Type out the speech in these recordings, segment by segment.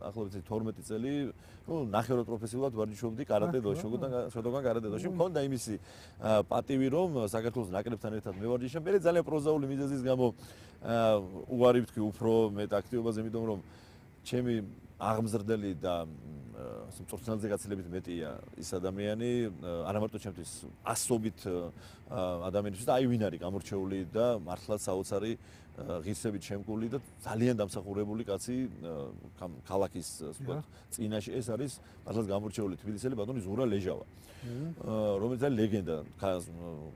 ახლობლად 12 წელი, ნახევრად პროფესიულად ვარჯიშობდი კარატე დოშოგან, შოდოგან კარატე დოში. მქონდა იმისი პატივი, რომ საქართველოს ნაკრებთან ერთად მევარჯიშე. მე ძალიან პროზაული მიზეზის გამო უარი ვთქვი უფრო მეტ აქტივობაზე, იმიტომ რომ ჩემი აღმზრდელი და მწვრთნელზე გაცილებით მეტია ის ადამიანი, არა მარტო ჩემთვის ასობით ადამიანისთვის და აი ვინ არის გამორჩეული და მართლაც საოცარი ღირსებით შემკული და ძალიან დამსახურებული კაცი ქალაქის ვთქვათ წინაშე ეს არის მართლაც გამორჩეული თბილისელი ბატონი ზურა ლეჟავა რომელიც არის ლეგენდა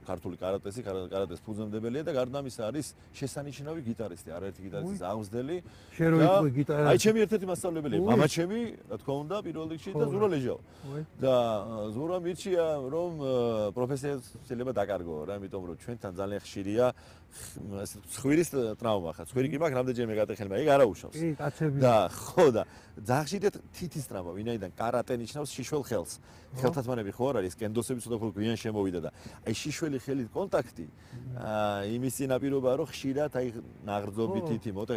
ქართული კარატეს ფუძემდებელია და გარდა ამისა არის შესანიშნავი გიტარისტი არაერთი გიტარისტის აღმზრდელი აი ჩემი ერთ-ერთი მასწავლებელია მამაჩემი რა თქმა უნდა პირველ რიგში და ზურა ლეჟავა და ზურა მირჩია რომ პროფესია შეიძლება დაკარგო რა იმიტომ რომ ჩვენთან ძალიან ხშირია ხვირის ტრავმა ხა ხვირი კი მაქვს რამდენჯერმე გატეხელმა ეგ არა უშავს და ხო და ძალიან ხშირად თითის ტრავმა ვინაიდან კარატე ნიშნავს შიშველ ხელს ხელთათმანები ხო არ არის კენდოსები ცოტა უფრო გვიან შემოვიდა და აი შიშველი ხელით კონტაქტი იმის წინაპირობაა რომ ხშირად აი ნაღრძობი თითი მოტე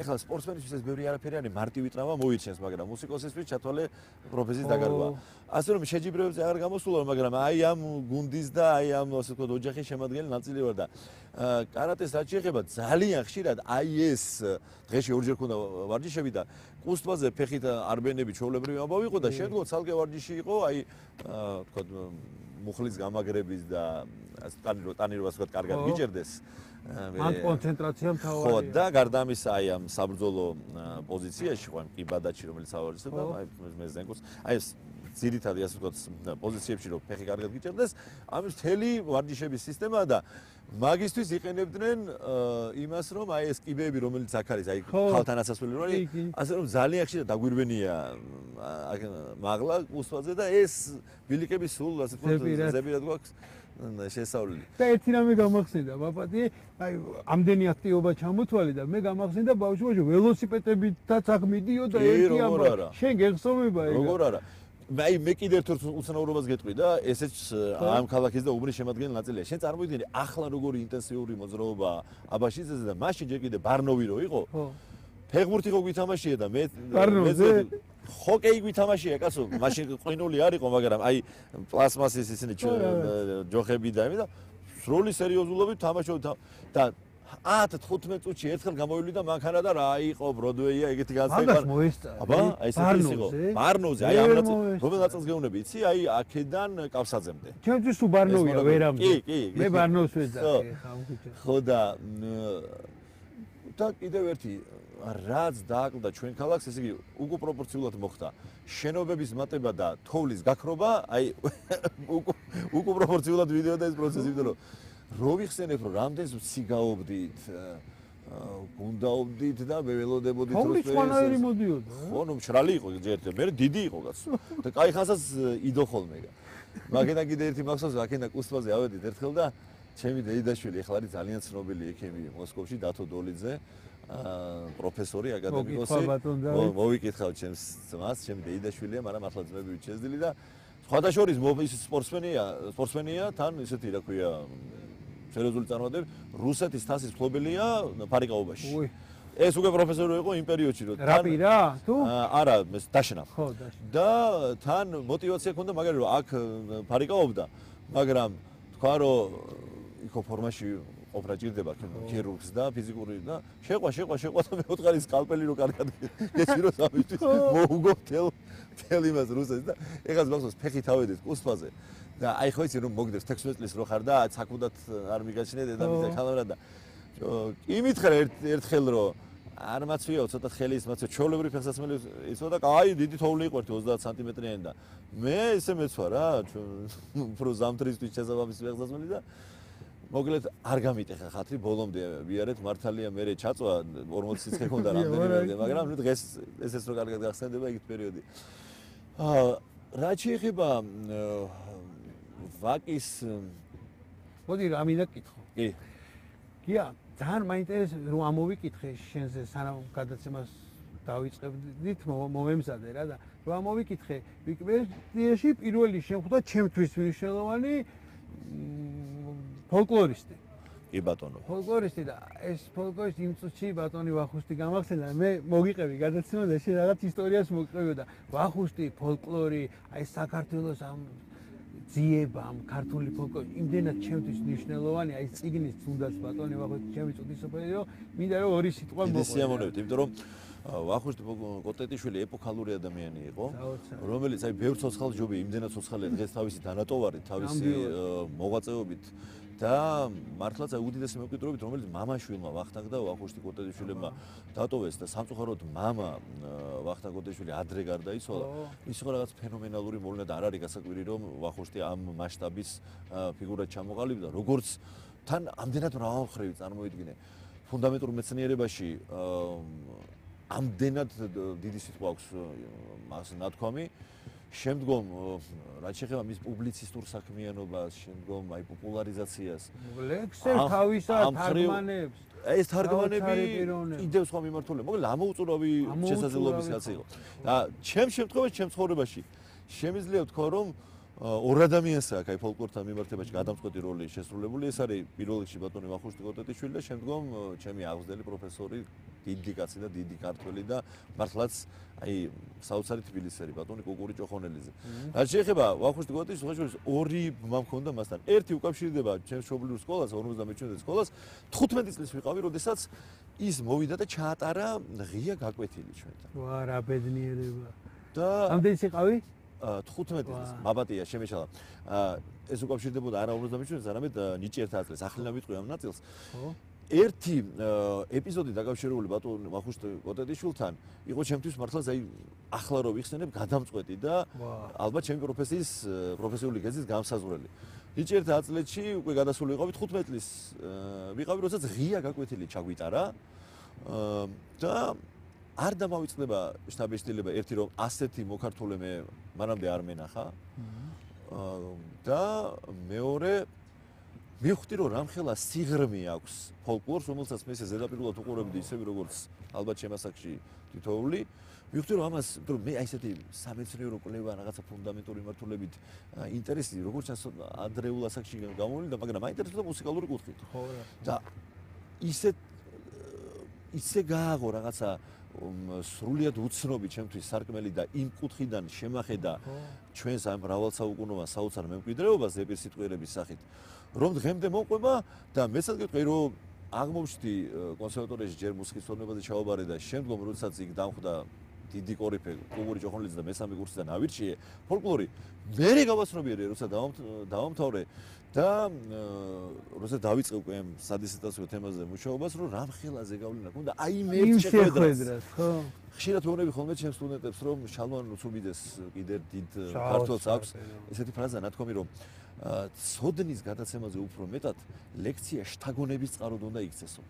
ეხლა სპორტსმენისთვის ეს ბევრი არაფერი არის მარტივი ტრავმა მოირჩენს მაგრამ მუსიკოსისთვის ჩათვალე პროფესიის დაკარგვა ასე რომ შეჯიბრებებზე აღარ გამოსულა მაგრამ აი ამ გუნდის და აი ამ ასე ვთქვათ ოჯახის შემადგენელი ნაწილი ვარ და კარატეს რაც შეეხება ძალიან ხშირად აი ეს დღეში ორჯერ ქონდა ვარჯიშები და კუსტვაზე ფეხით არბენები ჩვეულებრივი ამბავი იყო და შეძლო ცალკე ვარჯიში იყო აი ვთქვათ მუხლის გამაგრების და ტანირობას ვთქვათ კარგად გიჭერდეს ამ კონცენტრაცია მთავარია ხო და გარდა ამისა აი ამ საბრძოლო პოზიციაში ხო ამ კიბადაჩი რომელიც ავარჯიშობდა აი მე ზენკოს აი ეს ძირითადი ასე ვთქვათ პოზიციებში რომ ფეხი კარგად გიჭერდეს ამის მთელი ვარჯიშების სისტემა და მაგისთვის იყენებდნენ იმას რომ აი ეს კიბეები რომელიც აქ არის აი ხალთან ასასვლელი რომ არის ასე რომ ძალიან ხშირად დაგვირვენია მაღლა უსვაზე და ეს ბილიკები სულ ასე ვთქვათ ზებირად გვაქვს შესავლელი და ერთი რამე გამახსენდა ბაბადი აი ამდენი აქტივობა ჩამოთვალე და მე გამახსენდა ბავშვობაში ველოსიპედებითაც აქ მიდიოდა ერთი ამბავი შენ გეხსოვება ეგ როგორ არა აი მე კიდევ ერთ უცნაურობას გეტყვი და ესეც ამ ქალაქის და უბნის შემადგენელი ნაწილია. შენ წარმოიდგინე ახლა როგორი ინტენსიური მოძრაობა აბაშიძეზე და მაშინ ჯერ კიდე ბარნოვი რო იყო. ფეხბურთი ხო გვითამაშია და მე ჰოკეი გვითამაშია კაცო. მაშინ ყინული არ იყო, მაგრამ აი პლასმასის ისინი ჯოხები და იმი და სრული სერიოზულობით თამაშობდა და 10-15 წუთში ერთხელ გამოვივლი და მანქანა და რა იყო ბროდვეია ეგეთი განსაკუთრება. აბა მოესწარი. აბა აი ეს იყო. ბარნოზე აი ამ რომელ ნაწილს გეუბნები, იცი? აი აქედან კავსაძემდე. ჩემთვის თუ ბარნოვია ვერამდე. კი. მე ბარნოვს ვეძახი ხა უკეთ. ხო და კიდევ ერთი რაც დააკლდა ჩვენ ქალაქს, ესე იგი უკუპროპორციულად მოხდა. შენობების მატება და თოვლის გაქრობა, აი უკუპროპორციულად ვიდეოდა ეს პროცესი, იმიტომ რომ რო ვიხსენებ რომ რამდენს ვციგაობდით გუნდაობდით და მე ველოდებოდით რომ სხვანაირი მოდიოდა ხო ნუ მშრალი იყო ჯერ მე დიდი იყო კაცო და კაი ხანსაც იდო ხოლმე მაგედა კიდე ერთი მახსოვს აქედა კუსტვაზე ავედით ერთხელ და ჩემი დეიდაშვილი ახლა არის ძალიან ცნობილი ექიმი მოსკოვში დათო დოლიძე პროფესორი აკადემიკოსი მოვიკითხავ ჩემს ძმას ჩემი დეიდაშვილია მაგრამ ახლა ძმები შეძდილი და სხვადასხვა ის სპორტსმენია თან ისეთი რა ქვია სერიოზული წარმოადგენები რუსეთის თასის მფლობელია ფარიკაობაში. ეს უკვე პროფესორი იყო იმ პერიოდში რომ რაპირა თუ? არა, დაშნა. ხო, დაშნა. და თან мотиваცია ჰქონდა მაგარი რომ აქ ფარიკაობდა, მაგრამ თქვა რომ იქო ფორმაში ყოფნა ჭირდება ქირურგს და ფიზიკური და შეყვა და მეოთხარი სკალპელი რო კარგად გეციროს ამისთვის მოუგო თელ იმას რუსეთს და ეხლა მახსოვს ფეხით ავედით კუსტვაზე და აი ხო იცი რომ მოგდებს 16 წლის რო ხარ და ცაკუდად არ მიგაჩნია დედამიწა ხალხურად და იმითხრა ერთხელ რომ არ მაცვიაო ცოტა ხელი ის მაცვია ჩოლებრი ფეხსაცმელი იცოდა და აი დიდი თოვლი იყო 30 სანტიმეტრიანი და მე ესე მეცვა რა უფრო ზამთრისთვის შესაბამისი ფეხსაცმელი და მოკლედ არ გამიტეხა ხათრი ბოლომდე ვიარეთ მართალია მე ჩაწვა 40 სიცხე ქონდა რამდენიმე მაგრამ ნუ დღეს ესეც რო კარგად გახსენდება იგივე პერიოდი რა შეიძლება ვაკის მოდი რა მინდა კითხო კი გია ძალიან მაინტერესებს რომ ამოვიკითხე შენზე სანამ გადაცემას დავიწყებდით მომემზადე რა და რომ ამოვიკითხე ვიკიპედიაში პირველი შემხვდა ჩემთვის მნიშვნელოვანი ფოლკლორისტი. კი ბატონო. ფოლკლორისტი და ეს ფოლკლორისტი იმ წუთში ბატონი ვახუშტი გამახსენდა მე მოგიყევი გადაცემა და შენ რაღაც ისტორიას მოგყევი და ვახუშტი ფოლკლორი აი საქართველოს ამ ძიებამ ქართული ფოლკლორი იმდენად ჩემთვის მნიშვნელოვანი აი წიგნის თუნდაც ბატონი ვახუშტი ჩემი წუთისოფელი რომ მინდა რომ ორი სიტყვა მოყვე. მოყვე. სიამოვნებით, იმიტომ რომ ვახუშტი კოტეტიშვილი ეპოქალური ადამიანი იყო, რომელიც აი ბევრ ცოცხალ ჯობია, იმდენად ცოცხალია დღეს თავისი დანატოვარი, თავისი მოღვაწეობით და მართლაც აი უდიდესი მემკვიდრეობით, რომელიც მამაშვილმა ვახტანგ და ვახუშტი კოტეტიშვილმა დატოვეს და სამწუხაროდ მამა ვახტანგ კოტეტიშვილი ადრე გარდაიცვალა. ის იყო რაღაც ფენომენალური მოვლენა და არ არის გასაკვირი რომ ვახუშტი ამ მასშტაბის ფიგურად ჩამოყალიბდა, როგორც თან ამდენად მრავალმხრივი წარმოიდგინე. ფუნდამენტურ მეცნიერებაში ამდენად დიდი სიტყვა აქვს მას ნათქვამი. შემდგომ რაც შეეხება მის პუბლიცისტურ საქმიანობას, შემდგომ აი პოპულარიზაციას. ლექსებს თავისა თარგმანებს. ეს თარგმანები კიდევ სხვა მიმართულებით. მოკლედ ამოუწურავი შესაძლებლობის კაცი იყო. და ჩემ შემთხვევაში, ჩემ ცხოვრებაში შემიძლია ვთქვა, რომ ორ ადამიანს აქვს აი ფოლკლორთან მიმართებაში გადამწყვეტი როლი შესრულებული. ეს არის პირველ რიგში ბატონი ვახუშტი კოტეტიშვილი და შემდგომ ჩემი აღზრდელი პროფესორი, დიდი კაცი და დიდი ქართველი და მართლაც აი საოცარი თბილისელი ბატონი კუკური ჭოხონელიძე. რაც შეეხება ვახუშტი კოტეტიშვილს ორი ბმა მქონდა მასთან. ერთი უკავშირდება ჩემს მშობლიურ სკოლას, 57 სკოლას. 15 წლის ვიყავი, როდესაც ის მოვიდა და ჩაატარა ღია გაკვეთილი ჩვენთან. ვა რა ბედნიერება. და ამდენი სიყავი? 15 წლის მაბატია შემეშალა. ეს უკავშირდებოდა არა 57-ს, არამედ ნიჭიერთა აწლს. ახლა ვიტყვი ამ ნაწილს. ერთი ეპიზოდი დაკავშირებული ბატონ ვახუშტი კოტეტიშვილთან იყო ჩემთვის მართლაც აი ახლა რო ვიხსენებ გადამწყვეტი და ალბათ ჩემი პროფესიული გეზის გამსაზღვრელი. ნიჭიერთა აწლში უკვე გადასული ვიყავი 15 წლის ვიყავი, როდესაც ღია გაკვეთილი ჩაგვიტარა და არ დამავიწყდება შტაბის-დილება ერთი რომ ასეთი მოქართული მე მანამდე არ მენახა და მეორე მივხვდი რომ რამხელა სიღრმე აქვს ფოლკლორს, რომელსაც მე ესე ზედაპირულად უყურებდი ისევე როგორც ალბათ შემასაკში თითოეული. მივხვდი რომ ამას, რომ მე აი ესეთი სამეცნიერო კვლევა რაღაცა ფუნდამენტური მიმართულებით ინტერესი როგორც ჩანს ადრეულ ასაკში გამოვიდა, მაგრამ მაინტერესებდა მუსიკალური კუთხით. და ისე გააღო რაღაცა სრულიად უცნობი ჩემთვის სარკმელი და იმ კუთხიდან შემახედა ჩვენს ამ მრავალსაუკუნოვან საოცარ მემკვიდრეობას ზეპირ სიტყვიერების სახით, რომ დღემდე მოყვება და მეცად გეტყვი რომ აღმოჩნდი კონსერვატორიაში ჯერ მუსიკის სწავლებაზე ჩავაბარე და შემდგომ როდესაც იქ დამხვდა დიდი კორიფე კუკური ჭოხონელიძე და მესამე კურსიდან ავირჩიე ფოლკლორი მერე გავასწრობიერე როცა დავამთავრე და როცა დავიწყე უკვე ამ სადისერტაციო თემაზე მუშაობას რომ რამხელაზე გავლენა ქონდა აი მე შეხვედრას ხო ხშირად ვეუბნები ხოლმე ჩემს სტუდენტებს რომ შალმან უცუბიდეს კიდე დიდ ქართველს აქვს ესეთი ფრაზა ნათქვამი რომ ცოდნის გადაცემაზე უფრო მეტად ლექცია შთაგონების წყაროდ უნდა იქცესო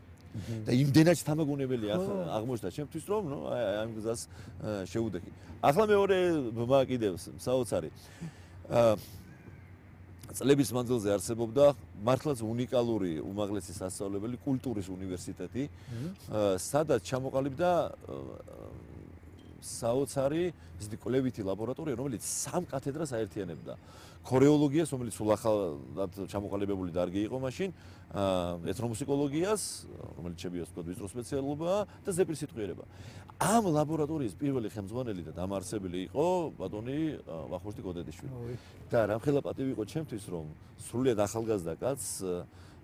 და იმდენად თამაგუნებელი აღმოჩნდა ჩემთვის რომ ნუ აი ამ გზას შეუდექი. ახლა მეორე ბმა კიდევ საოცარი. წლების მანძილზე არსებობდა მართლაც უნიკალური უმაღლესი სასწავლებელი კულტურის უნივერსიტეტი, სადაც ჩამოყალიბდა საოცარი ისეთი კვლევითი ლაბორატორია, რომელიც სამ კათედრას აერთიანებდა. ქორეოლოგიას, რომელიც სულ ახალად ჩამოყალიბებული დარგი იყო მაშინ, ეთნომუსიკოლოგიას, რომელიც შევიოს თქო ვიწრო სპეციალობაა და ზეპირ სიტყვიერება. ამ ლაბორატორიის პირველი ხელმძღვანელი და დამაარსებელი იყო ბატონი ვახუშტი კოტეტიშვილი. და რამხელა პატივი იყო ჩემთვის, რომ სრულიად ახალგაზრდა კაცს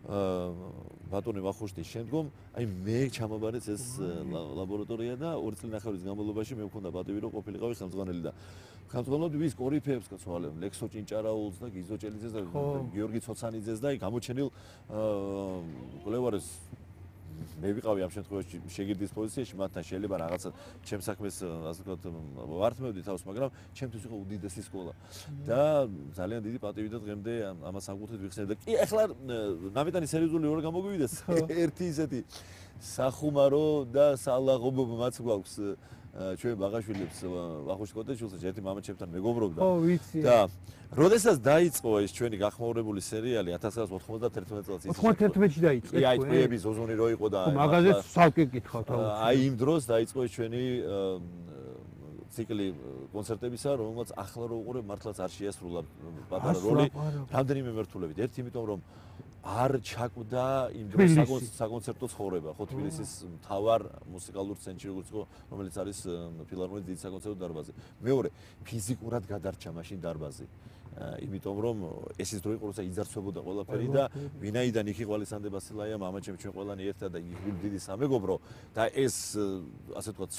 ბატონი ვახუშტის შემდგომ აი მე ჩამაბარეს ეს ლაბორატორია და 2 წლინახევრის განმავლობაში მე მქონდა პატივი რომ ყოფილიყავი ხელმძღვანელი და ხელმძღვანელობდი ვის კორიფეებს კაცვალებ ლექსო ჭინჭარაულს და გიზო ჭელიძეს და გიორგი ცოცანიძეს და იქ გამოჩენილ კვლევარებს მე ვიყავი ამ შემთხვევაში შეგირდის პოზიციაში მათთან შეიძლება რაღაცა ჩემს საქმეს ასე ვთქვათ ვართმევდი თავს მაგრამ ჩემთვის იყო უდიდესი სკოლა და ძალიან დიდი პატივი და დღემდე ამას საკუთრით ვიხსენებ და კი ახლა ნამეტანი სერიოზული ორ გამოგვივიდეს ერთი ისეთი სახუმარო და სალაღობო მაც გვაქვს ჩვენ ბაღაშვილებს ვახუშტი კოტეტიშვილს ერთი მამაჩემთან მეგობრობდა და როდესაც დაიწყო ეს ჩვენი გახმაურებული სერიალი 1991 წელს 91-ში დაიწყო. აი ტყუები ზოზონი რო იყო და მაგაზე სალკე გითხავთ. აი იმ დროს დაიწყო ეს ჩვენი ციკლი კონცერტებისა, რომელსაც ახლა რო უყურებ მართლაც არ შეასრულა პატარა როლი რამდენიმე მიმართულებით. ერთი იმიტომ რომ არ ჩაკვდა იმ დროს საკონცერტო ცხოვრება, ხო თბილისის მთავარ მუსიკალურ ცენტრში, როგორც იყო, რომელიც არის ფილარმონიის დიდი საკონცერტო დარბაზი. მეორე, ფიზიკურად გადარჩა მაშინ დარბაზი. იმიტომ რომ ეს ის დრო იყო, როცა იძარცვებოდა ყველაფერი და ვინაიდან იქ იყო ალესანდრე ბასილაია, მამაჩემ ჩვენ ყველანი ერთად და იგი დიდი სამეგობრო და ეს ასე ვთქვათ